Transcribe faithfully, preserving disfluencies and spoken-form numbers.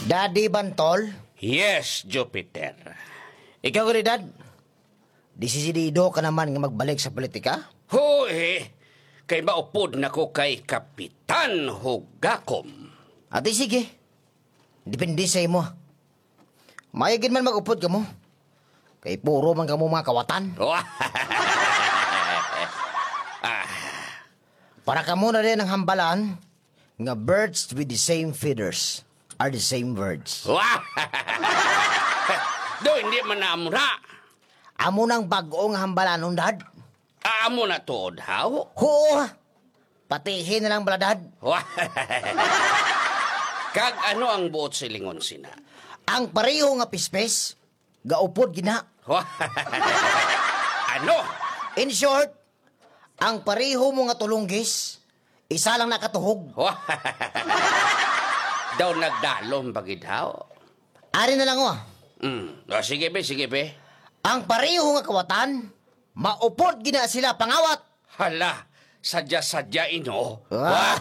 Daddy Bantol? Yes, Jupiter. Ikaw gani, Dad? Desidido ka naman nga magbalik sa politika? Hoy, kay maupod na ko kay Kapitan Hugakom. Ati, sige. Depende sa imo. Maayo gid man mag-upod kamo. Kay puro man kamo mga kawatan. Ah. Para kamo na rin ang hambalan nga birds with the same feathers are the same birds. Wah! Do, hindi man na amo na. Amo nang bag-o nga hambalanon, Dad. Ah, amo na tuod, haw? Huo. Patihi na lang bala, Dad. Wah! Kag ano ang buot silingon sina? Ang pareho nga pispis, gaupod gina. Wah! Ano? In short, ang pareho mo nga tulunggis, isa lang nakatuhog. Wah! Daw nagdalom ba gid, haw? Ari na lang, oh. Mm. O, sige, be, sige, be. Ang pareho nga kawatan, maupod gina sila pangawat. Hala, sadya-sadya, ino. Wah!